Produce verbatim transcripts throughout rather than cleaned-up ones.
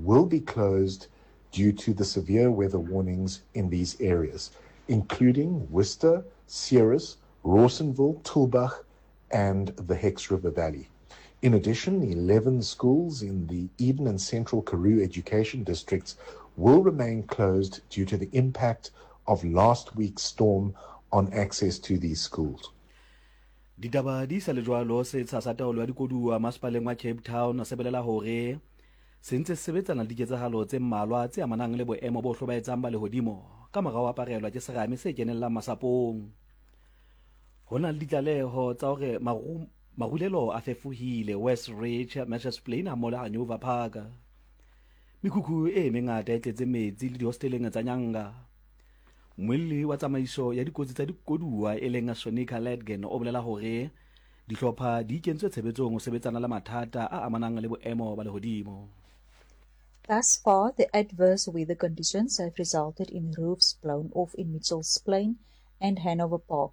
will be closed due to the severe weather warnings in these areas, including Worcester, Ceres, Rawsonville, Tulbagh, and the Hex River Valley. In addition, eleven schools in the Eden and Central Karoo education districts will remain closed due to the impact of last week's storm on access to these schools. Ditaba di sa le jwalo, setsha sa taolo ya dikoduwa masepaleng wa Cape Town se bolela hore se ntse se sebetsana le diketsahalo tse mmalwa tse amanang le boemo bo hlobaetsang ba lehodimo ka mora ho aparelwa ke serame se kenellang masapong. Ho na le ditlaleho tsa hore maru marulelo a fefohile West Ridge, Mitchells Plain hammoho le Hanover Park. Mekhukhu e mengata e tletse metsi le dihosteleng tsa Nyanga. Mmuelli wa tsamaiso ya dikotsi tsa dikoduwa e leng Sonica Ledgen o bolela hore dihlopha di kentswe tshebetsong ho sebetsana le mathata a amanang le boemo ba lehodimo. Thus far, the adverse weather conditions have resulted in roofs blown off in Mitchells Plain and Hanover Park,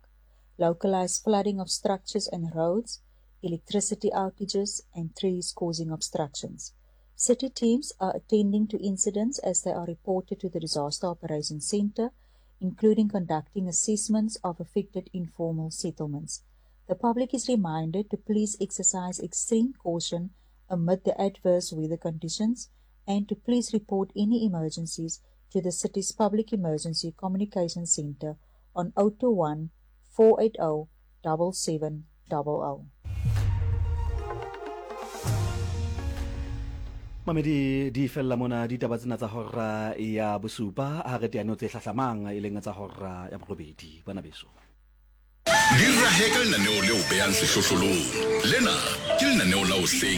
localized flooding of structures and roads, electricity outages, and trees causing obstructions. City teams are attending to incidents as they are reported to the Disaster Operations Center, including conducting assessments of affected informal settlements. The public is reminded to please exercise extreme caution amid the adverse weather conditions and to please report any emergencies to the city's Public Emergency Communication Center on oh two one, four eight oh, seven seven double oh. Mamedi di fella mona ditaba tsena tsa hora ya bosupa ha re teano tse hlahlamang e leng tsa hora ya borobedi bana beso. Di rahe ka lenaneo leo behang sehlohlolong. Lena ke lenaneo la hoseng